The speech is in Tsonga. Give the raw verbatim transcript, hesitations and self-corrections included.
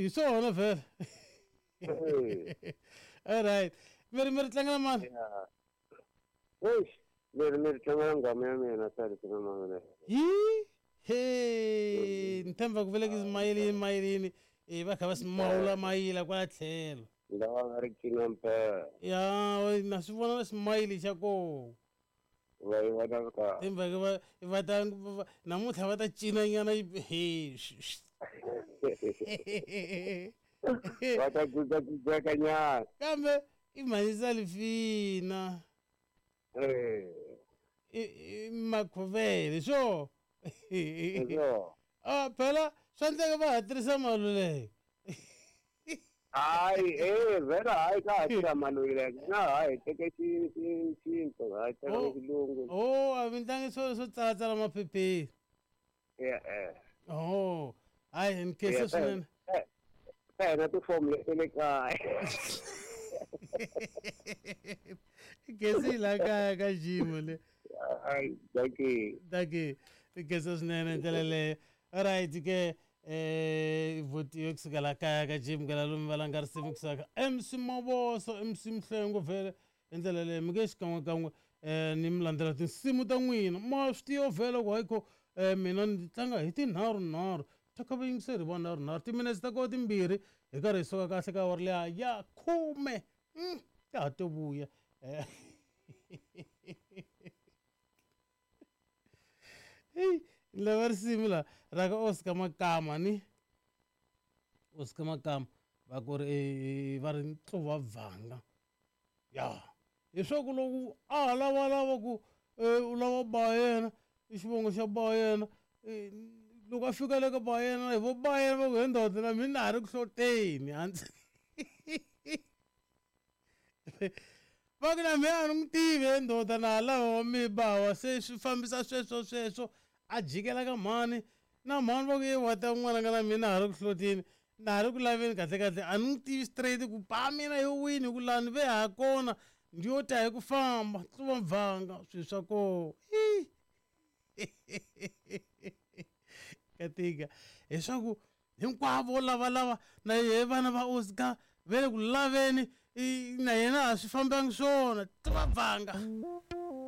Hi swona vhele. All right. Mi ri mi ri tlangela mani? Eish, leri mi ri tlangela nghama ya mina sali na mavele. Hi he ni tshemba ku veleki mayilini mayilini e va kha va simawula mayila kwala tlhelo. Lawa nga ri cina mpela. Ya na swi vona na smayili xa koho. Va yi vona ka. Tshemba ku va va ta namuntlha va ta cina nyana he. Va ta gudzeka nyana. Kambe i mhani Salifina. Eh. I Makhovele swo. Ah phela swa endleka va ha tirhisa Maluleke. Hayi eh vhela hayi ka ha tirha Maluleke na hayi teke xi xi xinto hayi teka xilungu. Oh a mi tlangi swo swo tsalatsala maphepheni. Eh eh. Oh hayi ni khensa swinene. Eh na tifomu leti le kaya. Khensi la kaya ka Jimo le. Hayi dankie. Dankie. Khensa swinene ndlela leyo. Alright ke eh votiwe kusuka la kaya ka Jim ka lalomu va langa risimu kusuka M C Maboso M C Mhlengo vhele hi ndlela leyo mi nge xikan'we kan'we eh ni mi landzela tinsimu ta n'wina ma swi tiva vhele ku hayikho eh mina ni tlanga hi tinharhu nharhu ta va yingiseri va nharhu nharhu timinetse ta koho timbirhi hi karhi hi suka kahle ka awara liya ya khume ta ha to vuya heyi lava risimu la ra ka Oscar Makama ni Oscar Makama va ku ri va ri ntluva bvanga ya hi swa ku loko a ha lavalava ku u lava ba yena i xivongo xa ba yena loko a fika le ka ba yena hi vo ba yena va ku he ndoda na mina ha ri ku hloteni hansi va ku na mina a ni n'wi tivi he ndoda na ha lava wa mi bawa se swi fambisa sweswo sweswo a jikela ka mhani na mhani va ku ye wa ta n'wana nga na mina ha ri ku hloteni na ha ri ku laveni kahle kahle a ni n'wi tivi straight ku ba mina yo wini hi ku lani ve ha kona ndi yo ta hi ku famba tluva bvanga swilo swa koho katika leswaku hinkwavo lavalava na yehe vana va Oscar ve le ku laveni na yena a swi fambangi swona tluva bvanga.